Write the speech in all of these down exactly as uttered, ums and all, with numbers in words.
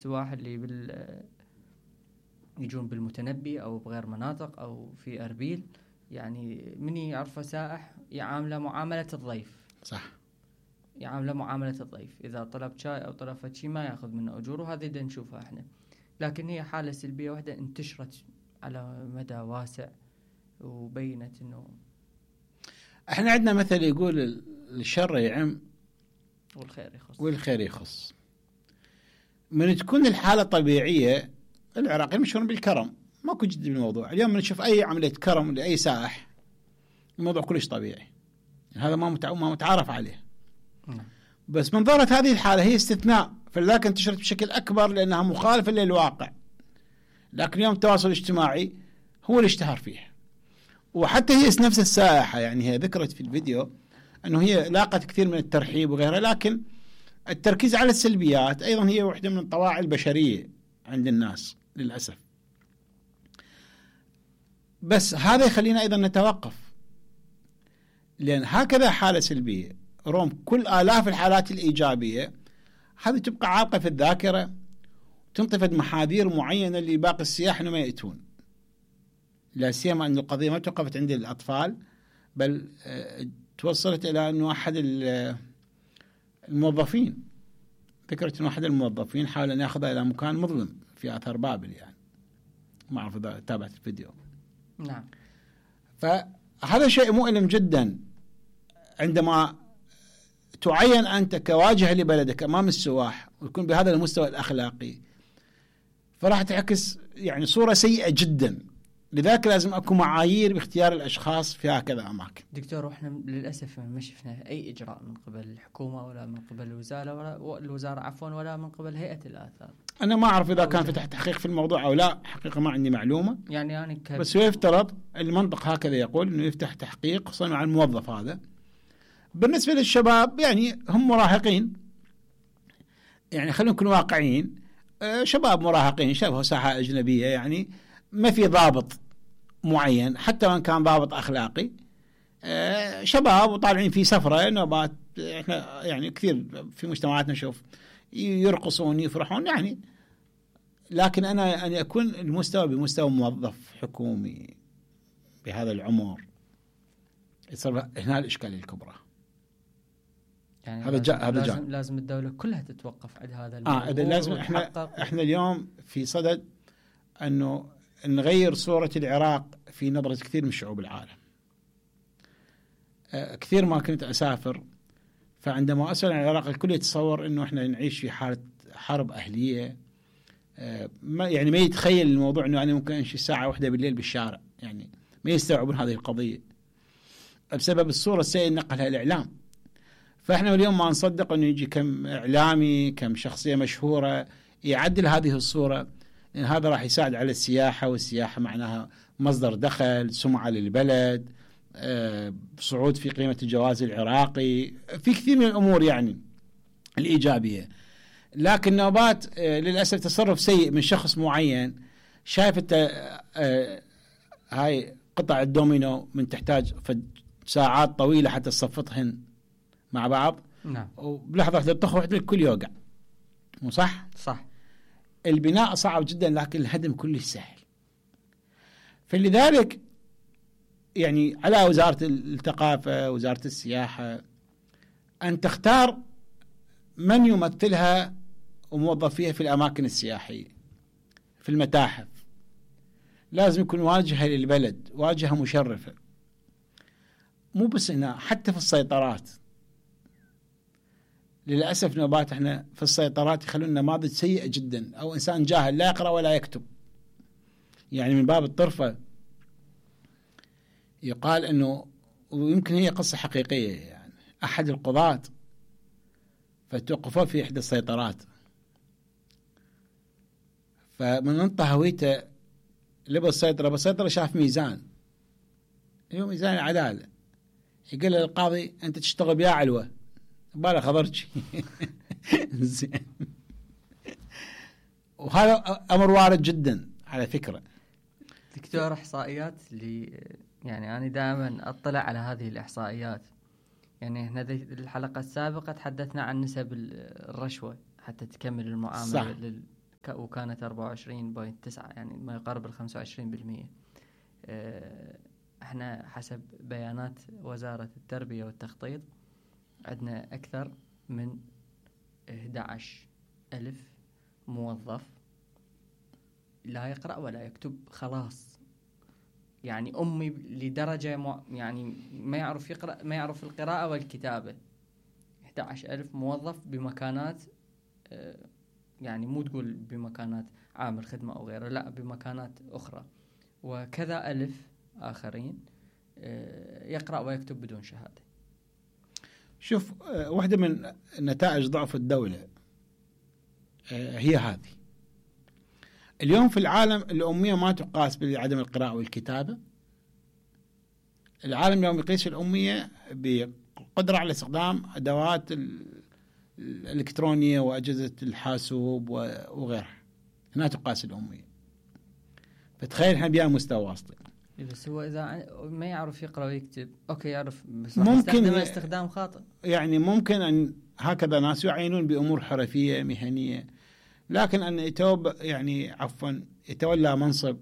السواح اللي بال يجون بالمتنبي أو بغير مناطق أو في أربيل، يعني من يعرفه سائح يعامله معاملة الضيف. صح، يعامله معاملة الضيف، إذا طلب شاي أو طلب شيء ما يأخذ منه أجور، وهذه دا نشوفها إحنا. لكن هي حالة سلبية واحدة انتشرت على مدى واسع وبينت إنه إحنا عندنا مثل يقول الشر يعم والخير يخص والخير يخص. من تكون الحالة طبيعية، العراقيين مشهورين بالكرم، ماكو جد بالموضوع. اليوم نشوف أي عملية كرم لأي سائح الموضوع كلش طبيعي، هذا ما ما متعارف عليه. نعم. بس من ظهرت هذه الحالة هي استثناء، فلذلك انتشرت بشكل أكبر لأنها مخالفة للواقع. لكن اليوم التواصل الاجتماعي هو اللي اشتهر فيه. وحتى هي نفس السائحة، يعني هي ذكرت في الفيديو أنه هي لاقت كثير من الترحيب وغيرها، لكن التركيز على السلبيات أيضا هي واحدة من الطواعي البشرية عند الناس للأسف. بس هذا يخلينا أيضا نتوقف، لأن هكذا حالة سلبية روم كل آلاف الحالات الإيجابية هذه تبقى عالقة في الذاكرة، تنطفد محاذير معينة لباقي السياح إنه ما يأتون. لا سيما أن القضية ما توقفت عند الأطفال، بل توصلت إلى أنه أحد الموظفين، ذكرت أنه أحد الموظفين حاول أن يأخذها إلى مكان مظلم في آثار بابل، يعني ما أعرف إذا تابعت الفيديو. نعم. فهذا شيء مؤلم جدا عندما تعين أنت كواجهة لبلدك أمام السواح ويكون بهذا المستوى الأخلاقي، فراح تعكس يعني صورة سيئة جدا. لذلك لازم أكون معايير باختيار الأشخاص في هكذا أماكن. دكتور، وإحنا للأسف ما شفنا أي إجراء من قبل الحكومة ولا من قبل الوزارة ولا الوزارة عفوا ولا من قبل هيئة الآثار. أنا ما أعرف إذا كان فتح تحقيق في الموضوع أو لا، حقيقة ما عندي معلومة. يعني يعني ك... بس يفترض المنطق هكذا يقول إنه يفتح تحقيق خصوصا مع الموظف هذا. بالنسبة للشباب يعني هم مراهقين، يعني خلينا نكون واقعيين، آه شباب مراهقين شبه ساحة أجنبية، يعني ما في ضابط معين حتى وان كان ضابط أخلاقي. آه شباب وطالعين في سفرة نوبات، احنا يعني كثير في مجتمعاتنا نشوف يرقصون يفرحون يعني. لكن أنا أن يكون المستوى بمستوى موظف حكومي بهذا العمر يصير هنا الإشكالية الكبرى. يعني هذا جاء هذا لازم, جاء. لازم الدولة كلها تتوقف عند هذا الموضوع. آه لازم احنا احنا اليوم في صدد انه نغير صورة العراق في نظرة كثير من شعوب العالم. آه كثير ما كنت اسافر، فعندما اسال عن العراق الكل يتصور انه احنا نعيش في حالة حرب اهلية. آه ما يعني ما يتخيل الموضوع انه انا ممكن امشي ساعة واحدة بالليل بالشارع، يعني ما يستوعبون هذه القضية بسبب الصورة السيئة اللي نقلها الاعلام. فإحنا اليوم ما نصدق أنه يجي كم إعلامي كم شخصية مشهورة يعدل هذه الصورة، لأن هذا راح يساعد على السياحة، والسياحة معناها مصدر دخل، سمعة للبلد، أه صعود في قيمة الجواز العراقي، في كثير من الأمور يعني الإيجابية. لكن نوبات أه للأسف تصرف سيء من شخص معين شايف أنت أه هاي قطع الدومينو من تحتاج ساعات طويلة حتى تصفطهن مع بعض. نعم. وبلحظة واحدة تطخ واحدة الكل يوقع، مو صح؟ صح. البناء صعب جدا لكن الهدم كله سهل. فلذلك يعني على وزارة الثقافة وزارة السياحة أن تختار من يمثلها وموظفيها في الأماكن السياحية. في المتاحف لازم يكون واجهة للبلد، واجهة مشرفة، مو بس هنا حتى في السيطرات. للأسف نوبات احنا في السيطرات يخلون نماذج سيئة جدا، أو إنسان جاهل لا يقرأ ولا يكتب. يعني من باب الطرفة يقال أنه، ويمكن هي قصة حقيقية، يعني أحد القضاة فتوقفوا في إحدى السيطرات، فمن انطى هويته لبس السيطرة، بالسيطرة شاف ميزان، هو ميزان العدالة، يقول للقاضي أنت تشتغل بيا علوة بالا خضرتش. زين. وهذا أمر وارد جدا على فكرة. دكتور، إحصائيات اللي يعني أنا دائما أطلع على هذه الإحصائيات. يعني احنا الحلقة السابقة تحدثنا عن نسب الرشوة حتى تكمل المعاملة. صح. لل وكانت أربعة وعشرين فاصلة تسعة يعني ما يقارب الخمسة وعشرين بالمئة. احنا حسب بيانات وزارة التربية والتخطيط عندنا أكثر من أحد عشر ألف موظف لا يقرأ ولا يكتب خلاص، يعني أمي لدرجة مع يعني ما يعرف يقرأ ما يعرف القراءة والكتابة. أحد عشر ألف موظف بمكانات يعني مو تقول بمكانات عامل خدمة أو غيره، لا بمكانات أخرى، وكذا ألف آخرين يقرأ ويكتب بدون شهادة. شوف، واحدة من نتائج ضعف الدولة هي هذه. اليوم في العالم الأمية ما تقاس بعدم القراءة والكتابة. العالم اليوم يقيس الأمية بقدرة على استخدام أدوات الإلكترونية وأجهزة الحاسوب وغيرها، هنا تقاس الأمية. فتخيل احنا بيها مستوى واصل. بس هو إذا ما يعرف يقرأ ويكتب أوكي يعرف بس ممكن استخدام خاطئ. يعني ممكن أن هكذا ناس يعينون بأمور حرفية مهنية، لكن أن يتوب يعني عفوا يتولى منصب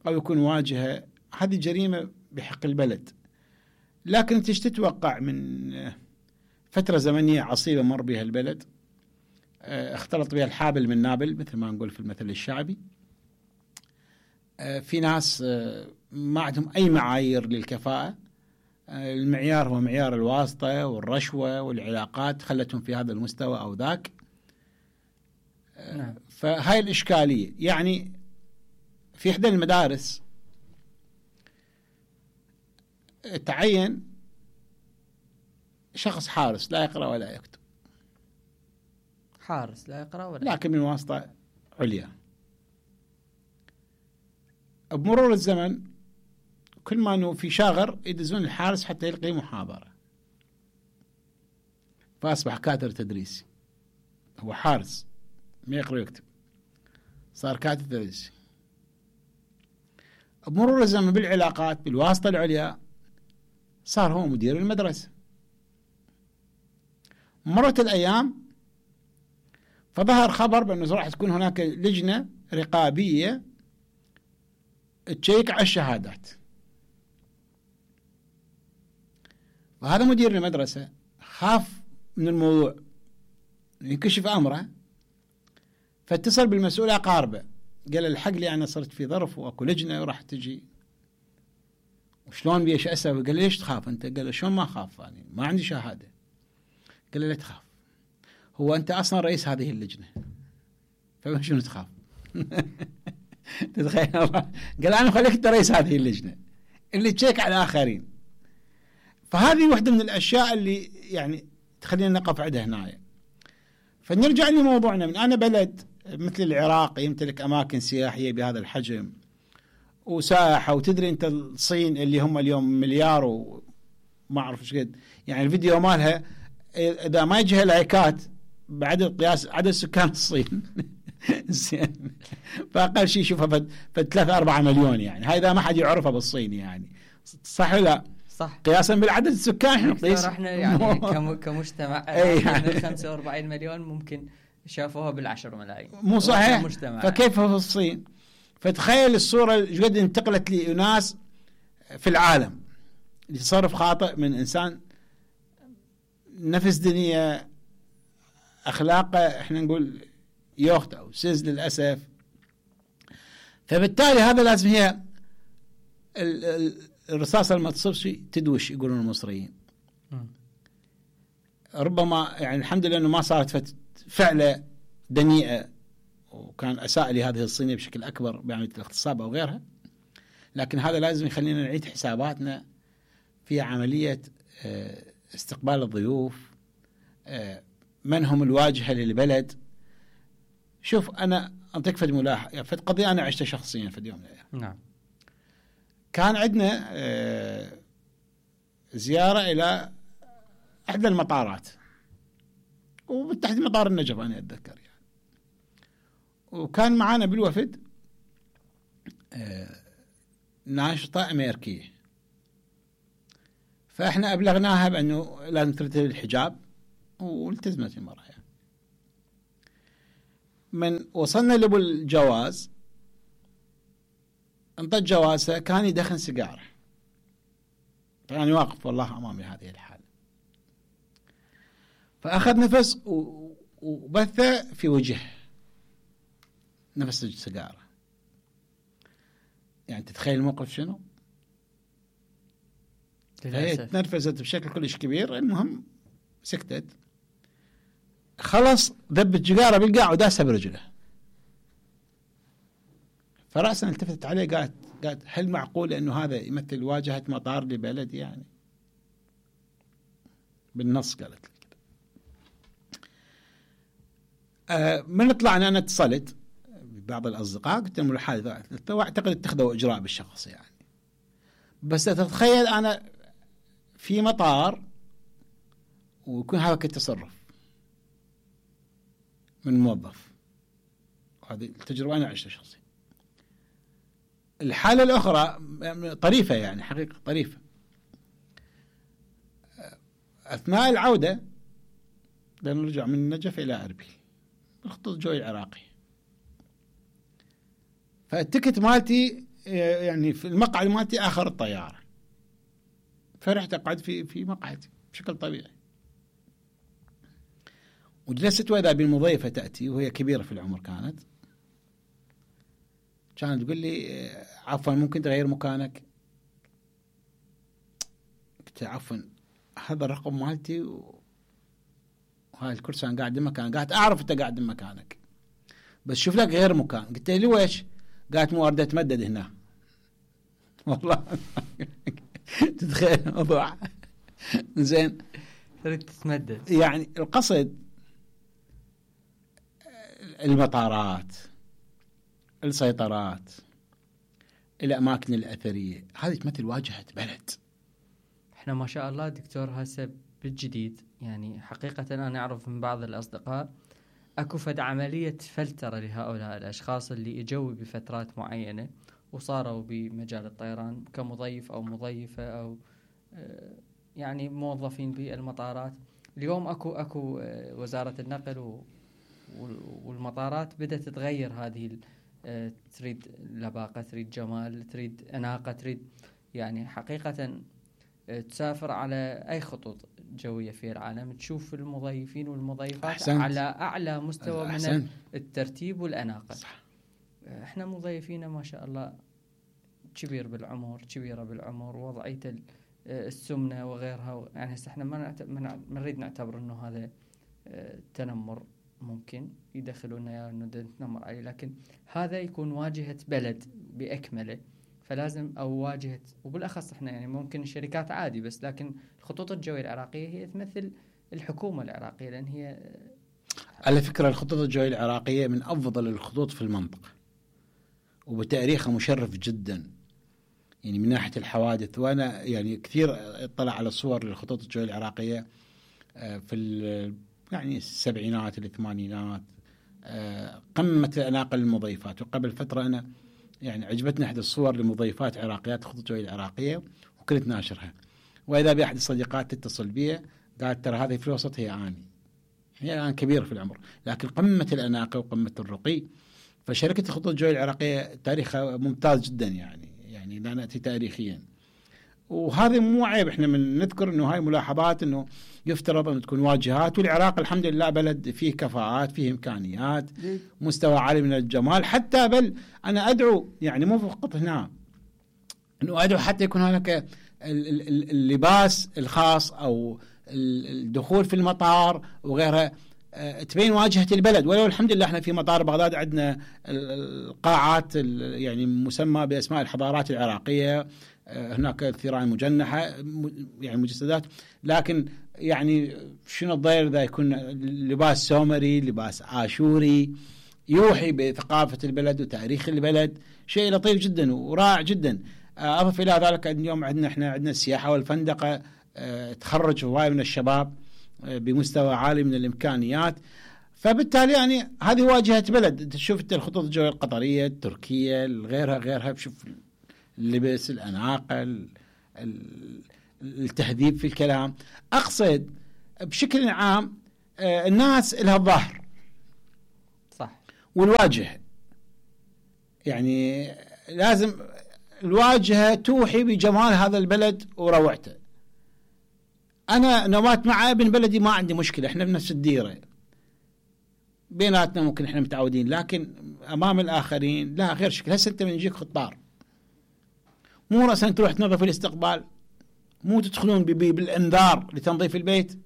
أو يكون واجهة، هذه جريمة بحق البلد. لكن أنت تتوقع من فترة زمنية عصيبة مر بها البلد، اختلط بها الحابل من نابل مثل ما نقول في المثل الشعبي. في ناس ما عندهم أي معايير للكفاءة، المعيار هو معيار الواسطة والرشوة والعلاقات، خلتهم في هذا المستوى أو ذاك. نعم. فهاي الإشكالية. يعني في إحدى المدارس تعين شخص حارس لا يقرأ ولا يكتب، حارس لا يقرأ ولا لكن من واسطة عليا. بمرور الزمن كل ما أنه في شاغر يدزون الحارس حتى يلقي محاضرة، فأصبح كاتر تدريسي. هو حارس ما يقرأ ويكتب، صار كاتب تدريسي. بمرور الزمن بالعلاقات بالواسطة العليا صار هو مدير المدرسة. مرت الأيام فظهر خبر بأنه راح تكون هناك لجنة رقابية تشيك على الشهادات، وهذا مدير المدرسة خاف من الموضوع ينكشف أمره، فاتصل بالمسؤول أقاربه قال الحق لي أنا صرت في ظرف وأكو لجنة وراح تجي وشلون بيش أسوي. قال ليش تخاف أنت؟ قال له شلون ما خاف، يعني ما عندي شهادة. قال له لا تخاف، هو أنت أصلا رئيس هذه اللجنة فشنو تخاف؟ تتخيل الله؟ قال أنا خليك أنت رئيس هذه اللجنة اللي تشيك على الآخرين. فهذه واحدة من الأشياء اللي يعني تخلينا نقف عندها هنا. فنرجع لموضوعنا. من أنا بلد مثل العراق يمتلك أماكن سياحية بهذا الحجم وساحة، وتدري أنت الصين اللي هم اليوم مليار وما أعرف إيش قد، يعني الفيديو مالها إذا ما يجيها لايكات بعدد قياس عدد سكان الصين زين، فأقل شيء شوفها فد ثلاثة أربعة مليون، يعني هاي إذا ما حد يعرفها بالصين، يعني صح لا؟ صح. قياسا بالعدد السكان احنا نقيس احنا يعني كمجتمع يعني خمسة وأربعين مليون ممكن شافوها بالعشر ملايين، مو صحيح؟ فكيف في الصين؟ فتخيل الصورة قد انتقلت لناس في العالم. تصرف خاطئ من إنسان، نفس دنيا أخلاقه احنا نقول يوخت أو سيز للأسف. فبالتالي هذا لازم هي الرصاصة لما تصيب تدوش يقولون المصريين. ربما يعني الحمد لله أنه ما صارت فعلة دنيئة وكان أساء لهذه الصينية بشكل أكبر بعملية الاغتصاب أو غيرها، لكن هذا لازم يخلينا نعيد حساباتنا في عملية استقبال الضيوف، من هم الواجهة للبلد. شوف أنا أعطيك فد ملاحظة، فد قضية أنا عشتها شخصيا في اليوم. نعم. كان عندنا زيارة إلى إحدى المطارات وبالتحديد مطار النجف أنا أتذكر يعني، وكان معانا بالوفد ناشطة أمريكية، فإحنا أبلغناها بأنه لازم ترتدي الحجاب والتزمت المرأة يعني. من وصلنا لابو الجواز انطت جوازه كان يدخن سيجاره، يعني واقف والله امامي هذه الحاله، فاخذ نفس وبثه في وجهه نفس السيجاره. يعني تتخيل الموقف شنو؟ هي تنرفزت بشكل كلش كبير. المهم سكتت، خلص ذب السيجاره بالقاع وداسها برجله. فرأسا التفتت عليه قالت قالت هل معقول انه هذا يمثل واجهة مطار لبلد؟ يعني بالنص قالت لي كده. آه من طلعنا انا اتصلت ببعض الاصدقاء قلت لهم الحادث واعتقد اتخذوا اجراء بالشخص يعني، بس تتخيل انا في مطار ويكون هذا التصرف من موظف. هذه التجربة انا عشتها شخصيا. الحالة الأخرى طريفة، يعني حقيقة طريفة. أثناء العودة لنرجع من النجف إلى أربيل الخطوط الجوي العراقي، فالتكت مالتي يعني في المقعد مالتي آخر الطيارة، فرحت أقعد في في مقعدي بشكل طبيعي، وجلست وإذا بالمضيفة تأتي وهي كبيرة في العمر كانت كانت تقول لي عفوا ممكن تغير مكانك؟ قلت عفوا هذا الرقم مالتي وهاي الكرسي انا قاعد بمكان، قاعد اعرف انت قاعد بمكانك بس شوف لك غير مكان. قلت لي ويش؟ قالت مو اريد اتمدد هنا. والله تتخيل الموضوع زين تريد تتمدد. يعني القصد المطارات، السيطرات، الأماكن الأثرية، هذه تمثل واجهة بلد. احنا ما شاء الله دكتور هسه بالجديد يعني حقيقة أنا أعرف من بعض الأصدقاء أكو فد عملية فلترة لهؤلاء الأشخاص اللي إجوا بفترات معينة وصاروا بمجال الطيران كمضيف أو مضيفة أو يعني موظفين بالمطارات. اليوم أكو أكو وزارة النقل والمطارات بدأت تغير هذه، تريد لباقة، تريد جمال، تريد أناقة، تريد يعني حقيقة تسافر على أي خطوط جوية في العالم تشوف المضيفين والمضيفات أحسنت. على أعلى مستوى أحسنت. من الترتيب والأناقة. صح. احنا مضيفين ما شاء الله كبير بالعمر، كبيرة بالعمر، وضعية السمنة وغيرها، يعني هسه احنا ما ما نريد نعتبر انه هذا تنمر، ممكن يدخلونا يا انه نتنمر عليه، لكن هذا يكون واجهة بلد بأكمله، فلازم او واجهة، وبالاخص احنا يعني ممكن الشركات عادي، بس لكن الخطوط الجوية العراقية هي تمثل الحكومة العراقية، لان هي على فكرة الخطوط الجوية العراقية من افضل الخطوط في المنطقة، وبتاريخها مشرف جدا يعني من ناحية الحوادث. وانا يعني كثير اطلع على صور للخطوط الجوية العراقية في يعني السبعينات الثمانينات، قمة الأناقة للمضيفات. وقبل فترة أنا يعني عجبتني أحد الصور لمضيفات عراقيات الخطوط الجوية العراقية وكنت ناشرها، وإذا بأحد الصديقات تتصل بي قالت ترى هذه في الوسط هي آني، هي الآن كبيرة في العمر لكن قمة الأناقة وقمة الرقي. فشركة الخطوط الجوية العراقية تاريخها ممتاز جدا، يعني يعني لا نأتي تاريخيا، وهذا مو عيب. احنا من نذكر انه هاي ملاحظات انه يفترض ان تكون واجهات، والعراق الحمد لله بلد فيه كفاءات، فيه امكانيات، مستوى عالي من الجمال. حتى بل انا ادعو يعني مو فقط هنا، انه ادعو حتى يكون هناك اللباس الخاص او الدخول في المطار وغيرها تبين واجهة البلد. ولو الحمد لله احنا في مطار بغداد عندنا القاعات يعني مسمى باسماء الحضارات العراقية، هناك الثيران مجنحة يعني مجسدات، لكن يعني شنو الضير إذا يكون لباس سومري، لباس آشوري يوحي بثقافة البلد وتاريخ البلد، شيء لطيف جدا ورائع جدا. أضف إلى ذلك اليوم عندنا احنا عندنا السياحة والفندقة تخرج هواي من الشباب بمستوى عالي من الإمكانيات، فبالتالي يعني هذه واجهة بلد. تشوف انت الخطوط الجوية القطرية، التركية، غيرها غيرها، بشوف اللبس، الأناقة، التهذيب في الكلام. أقصد بشكل عام الناس لها الظهر، صح، والواجهة. يعني لازم الواجهة توحي بجمال هذا البلد وروعته. أنا نوات مع ابن بلدي ما عندي مشكلة، إحنا بنفس الديرة بيناتنا، ممكن إحنا متعودين، لكن أمام الآخرين لا، غير شكل. هسه أنت من يجيك خطار مو رأسا تروح تنظف الاستقبال، مو تدخلون بالإنذار لتنظيف البيت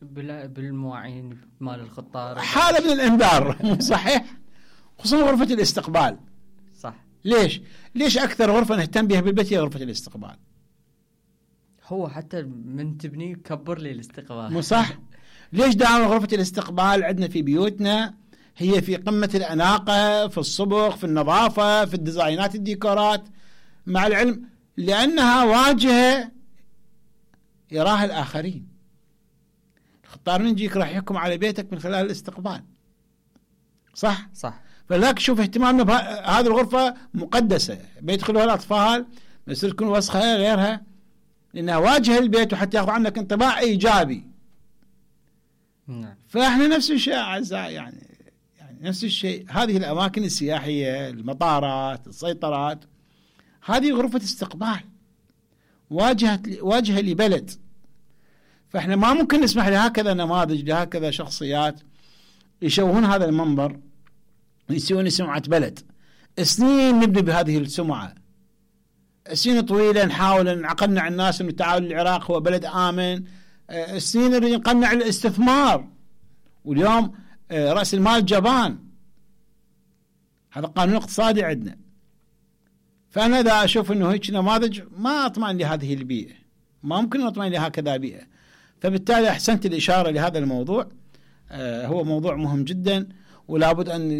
بالمواعين مال الخطار، حالة من الإنذار مو صحيح؟ خصوصا غرفة الاستقبال. صح. ليش؟ ليش أكثر غرفة نهتم بها بالبيت هي غرفة الاستقبال؟ هو حتى من تبني كبر لي الاستقبال، مو صح؟ ليش دائما غرفة الاستقبال عندنا في بيوتنا هي في قمة الأناقة، في الصبغ، في النظافة، في الديزاينات، الديكورات، مع العلم لأنها واجهة يراها الآخرين. الخطار من يجيك راح يحكم على بيتك من خلال الاستقبال. صح؟ صح. فلذلك شوف اهتمامنا بهذه الغرفة مقدسة، بيدخلوها الأطفال بس تكون وسخة غيرها، لأنها واجهة البيت وحتى يأخذ عنك انطباع إيجابي. نعم. فإحنا نفس الشيء أعزائي، يعني يعني نفس الشيء. هذه الأماكن السياحية، المطارات، السيطرات، هذه غرفة استقبال، واجهة واجهة لبلد. فإحنا ما ممكن نسمح لهكذا نماذج، لهكذا شخصيات يشوهون هذا المنظر، يسوون سمعة بلد. سنين نبني بهذه السمعة، سنين طويلة نحاول نقنع الناس أن تعال العراق هو بلد آمن، سنين نريد نقنع الاستثمار، واليوم رأس المال جبان. هذا قانون اقتصادي عندنا. فأنا إذا أشوف أنه هيك نماذج ما أطمئن لهذه البيئة، ما ممكن أطمئن لهكذا بيئة. فبالتالي أحسنت الإشارة لهذا الموضوع. آه هو موضوع مهم جدا، ولا بد أن